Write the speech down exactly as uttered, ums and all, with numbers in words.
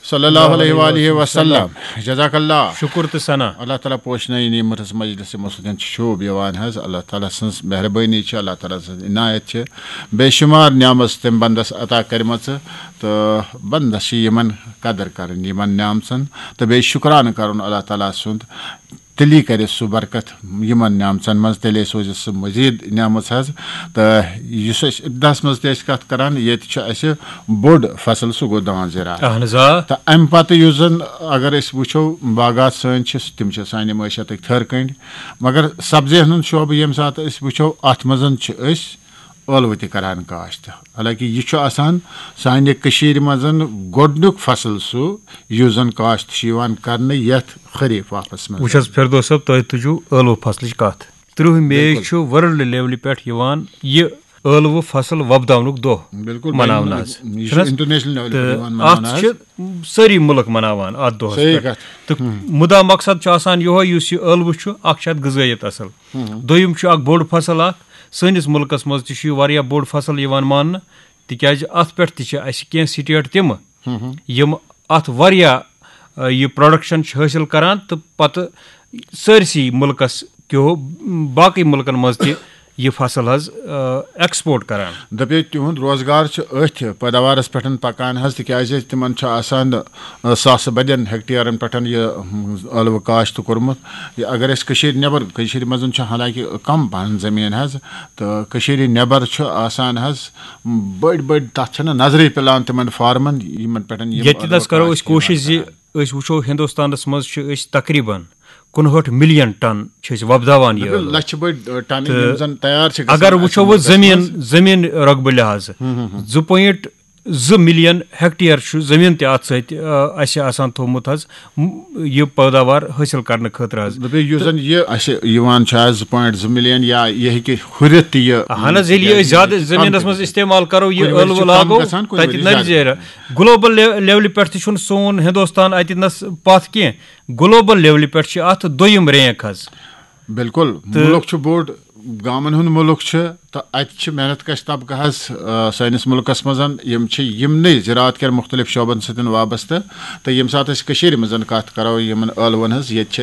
صلی اللہ علیہ وآلہ وسلم۔ جزاک اللہ۔ شکر تہٕ ثنا۔ اللہ تعالیٰ پوشنٲیِن یہِ مٔرٕژ مجلس یِمو سۭتۍ چھُ شوٗب یِوان حظ۔ اللہ تعالیٰ سٕنٛز مہربٲنی چھِ، اللہ تعالیٰ سٕنٛز عنایت چھِ، بے شُمار نعمژ تٔمۍ بندس عطا کٔرمٕژ، تہٕ بندس چھِ یِمن قدر کرٕنۍ، یِمن نعمژن، تہٕ بیٚیہِ شُکرانہٕ کرُن اللہ تعالیٰ سُنٛد۔ تیٚلی کرِ سُہ برکت یِمن نعمژن منٛز، تیٚلے سوزِ سُہ مزید نعمژ حظ۔ تہٕ یُس أسۍ ابتداہس منٛز تہِ ٲسۍ کتھ کران، ییٚتہِ چھُ اسہِ بوٚڑ فصل، سُہ گوٚو دان زِراعت۔ اہن حظ آ۔ تہٕ امہِ پتہٕ یُس زن اگر أسۍ وٕچھو، باغات سٲنۍ چھِ، تِم چھِ سانہِ معیشتٕکۍ تھٔر کنڈۍ، مگر سبزی ہٕنٛد شعبہٕ ییٚمہِ ساتہٕ أسۍ وٕچھو، اتھ منٛز چھِ أسۍ ٲلوٕ تہِ کران کاشت۔ حالانکہ یہِ چھُ آسان سانہِ کٔشیٖرِ منٛز گۄڈٕنیُک فصل سُہ، یُس زن کاشت چھُ یِوان کرنہٕ یتھ خریف آفس منٛز۔ وٕچھ حظ فردوس صٲب، تۄہہِ تُجو ٲلوٕ فصلٕچ کتھ۔ ترٕہ مے چھُ ورلڈ لیولہِ پٮ۪ٹھ یِوان یہِ ٲلوٕ فصل وۄپداونُک دۄہ بِلکُل، بین مناونہٕ الاقوٲمی، حظ۔ یہِ چھُنہٕ چھُ حظ؟ انٹرنیشنل لیولہِ پٮ۪ٹھ تہٕ یِوان اتھ مناونہٕ چھِ حظ۔ سٲری مُلک مناوان اتھ دۄہس صحیح پٮ۪ٹھ۔ کتھ۔ تہٕ مُدا مقصد چھُ آسان یِہوے، یُس یہِ ٲلوٕ چھُ، اکھ چھُ اتھ غذٲیت اصل، دوٚیِم چھُ اکھ بوٚڑ فصل اکھ۔ سٲنِس مُلکس منٛز تہِ چھُ یہِ واریاہ بوٚڑ فصل یِوان ماننہٕ، تِکیازِ اتھ پٮ۪ٹھ تہِ چھِ اسہِ کینٛہہ سٹیٹ تِمہٕ، یِم اتھ واریاہ، آ، یہِ پروڈکشن چھِ حٲصِل کران تہٕ پتہٕ سٲرسٕے مُلکس کیو باقٕے مُلکن منٛز تہِ یہِ فصل حظ، آ، ایکسپورٹ کران۔ دَپے تِہُنٛد روزگار چھُ أتھۍ پٲداوارس پٮ۪ٹھ پکان حظ، تِکیازِ تِمن چھُ آسان، آ، ساسہٕ بٔدٮ۪ن ہیکٹیرن پٮ۪ٹھ یہِ، م، ٲلوٕ کاشت کوٚرمُت۔ یہِ اگر أسۍ کٔشیٖرِ نٮ۪بر، کٔشیٖرِ منٛز چھِ حالانکہ کم پہن زٔمیٖن حظ، تہٕ کٔشیٖرِ نٮ۪بر چھُ آسان حظ بٔڑۍ بٔڑۍ، تتھ چھنہٕ نظرٕے پِلان تِمن فارمن، یِمن پٮ۪ٹھ یِم ییٚتہِ ٲلوٕ نس کرو کاشت أسۍ چھِ یِوان کوٗشِش زِ کران۔ أسۍ وٕچھو ہندوستانس منٛز چھِ أسۍ تقریباً کُنہٲٹھ ملین ٹن چھِ أسۍ وۄپداوان یہِ بِلکُل، ٲلوٕ۔ لچھِ بٔدۍ، آ، ٹن تہٕ یِم زن تیار چھِ گژھان اگر اَسہِ وٕچھو وۄنۍ مُلکس زٔمیٖن، منٛز۔ زٔمیٖن رۄقبہٕ لحاظہٕ زٕ پوینٹ زٕ ملین ہیکٹیر چھُ زٔمیٖن تہِ اتھ سۭتۍ، آ، اسہِ آسان تھوٚومُت حظ، م-، یہِ پٲداوار حٲصِل کرنہٕ خٲطرٕ حظ۔ دَپے یُس زن یہِ اسہِ یِوان چھُ آز زٕ پوینٹ زٕ ملین یا یہِ ہیٚکہِ ہُرِتھ تہِ یہِ۔ اہن حظ، ییٚلہِ یہِ أسۍ زیادٕ زٔمیٖنس منٛز استعمال کرو، یہِ کُنہِ ؤرِیہِ ٲلوٕ چھُ کم لاگو، گژھان، کُنہِ تتہِ ؤرِیہِ نرِ زیادٕ۔ زیرِ۔ گلوبل لیو-، لیولہِ پٮ۪ٹھ تہِ چھُنہٕ سون ہندوستان اتہِ نس پتھ کینٛہہ۔ گلوبل لیولہِ پٮ۪ٹھ چھِ اتھ دوٚیِم رینک حظ۔ بِلکُل، مُلک چھُ بوٚڑ، گامن ہُنٛد مُلک چھُ، تہٕ اتہِ چھِ محنت کش طبقہٕ حظ، آ، سٲنِس مُلکس منٛز، یِم چھِ یِمنٕے زِراعت کٮ۪ن مُختٔلِف شعبن سۭتۍ وابستہٕ۔ تہٕ ییٚمہِ ساتہٕ أسۍ کٔشیٖرِ منٛز کتھ کرو یِمن ٲلون ہٕنٛز، ییٚتہِ چھِ